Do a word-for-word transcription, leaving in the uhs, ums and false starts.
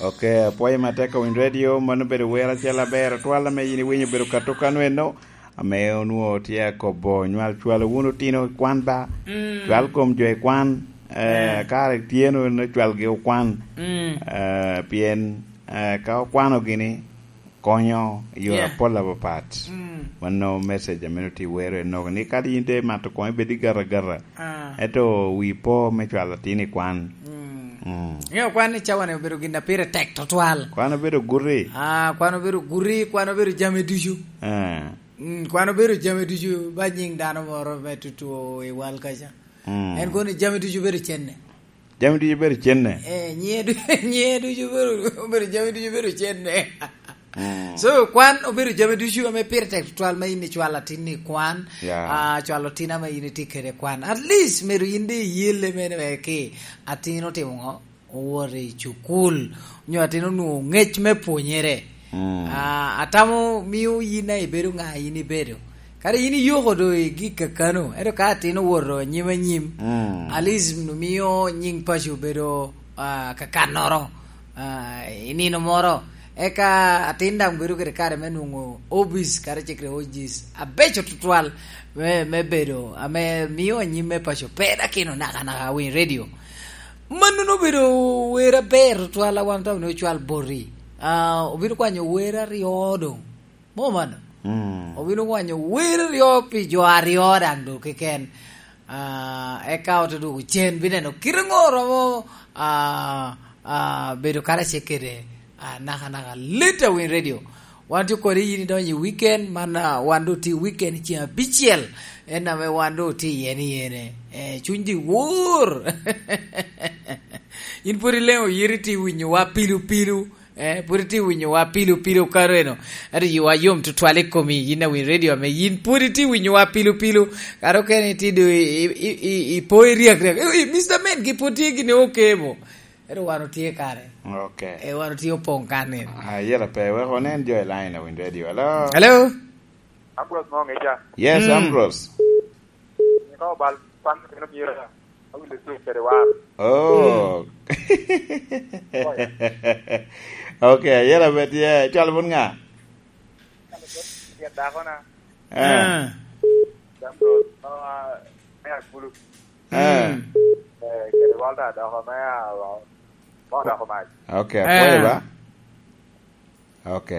Ok, apwoyo matek Owiny Radio, mano obedo wer acel aber atwal ame yin iwinyo obedo ka tukanu eno, ame onwoŋo tye akobo nywal cwalo wun otino i kwan ba, cwal kom jo i kwan, eh, kare tye no, no cwalgi okwan, eh, pien, eh, ka okwano gini, konyo i yore apol apapat. Mano message ame nongo tye wero enoko ni kadi yin te mato koŋ ibed i gata gata. Ento wi po me cwalo atin i kwan. Mm. Iŋeo kwan ni cawa-ni obedo gin a pire tek tutwal. Kwan obedo guti. Ah, kwan obedo guti, kwan obedo jami ducu. Eh. Mm, kwan obedo jami ducu, ba nyiŋ dano moro me tutu i wal kaca. Mm. En kono jami ducu obedo cenne. Jami ducu bedo cenne. Eh, nyiŋe du-, nyiŋe ducu bedo, obedo jami ducu bedo cenne. Mm. So, kwan obedo jami ducu ame pire tek tutwal ma in icwalo atin i kwan, yeah, ah, cwalo tin ame in itye kede kwan. At least, myero in de iyelle mene wek ki atin otimo ŋo? Owoto i cukul, onyo atin onwoŋo ŋec me pwonyere. Mm. Ah, atamo mio yin a ibedo ŋa yin ibedo. Kadi yin iyoko do i gik kakano, ento ka atin owoto anyim anyim, mm, at least mio nyiŋ paco bedo, ah, kakannoro, ah, i nino moro. Eka atin daŋ bedo kede kare me nwoŋo hobbies, kadi cik kede hobbies abeco tutwal me, me bedo, ame mio anyim me paco pe dakino nakanaka winy radio. Mano obedo wer aber tutwal a wan otamo ni ocwal boti. Ah, obino kwanyo wer aryo doŋ. Mo mano? Mm. Obino kwanyo wer aryo pi jo aryo daŋ doŋ keken. Ah, eka ote dwogo cen, bineno kite ŋo romo, ah, ah, bedo karacel kede, ah, nakanaka Leta Winy Radio. Wan tye kodi yin idonyo i weekend, man, ah, wan doŋ tye i weekend ceŋ abicel, en ame wan doŋ tye iye ni ene. Eh, cuny di wor. In pwod ileŋo yiri tye winyowa pilu pilu, eh, pwod itye winyowa pilu pilu kare eno. Ento yiwa yom tutwal i komi, yin awiny radio ame yin pwod itye winyowa pilu pilu. Kare okene itye do i, i, i, i, ipo i riak riak. Eh, eh, Mister Men, gi pwod tye gini okemo. Ento wan otye kare. Ok. Eh, wan otye opoŋ kan ni. Ah, yela pe, wek onen jo i line awiny radio. Hello? Hello? Ambrose mo ŋeca. Yes, mm. Ambrose. Nino bal, kwan nino mira. Awinjo tye kede war. Oh. Mm. Ok, ayera bet ye. Cwalo bun ŋa? Yet dako na. Eh. Ah. Ambrose, ah, me Agulu. Eh. Mm. Eh, kede Walter dako me, ah, mo dako mac. Ok, apwoyo ba. Ok.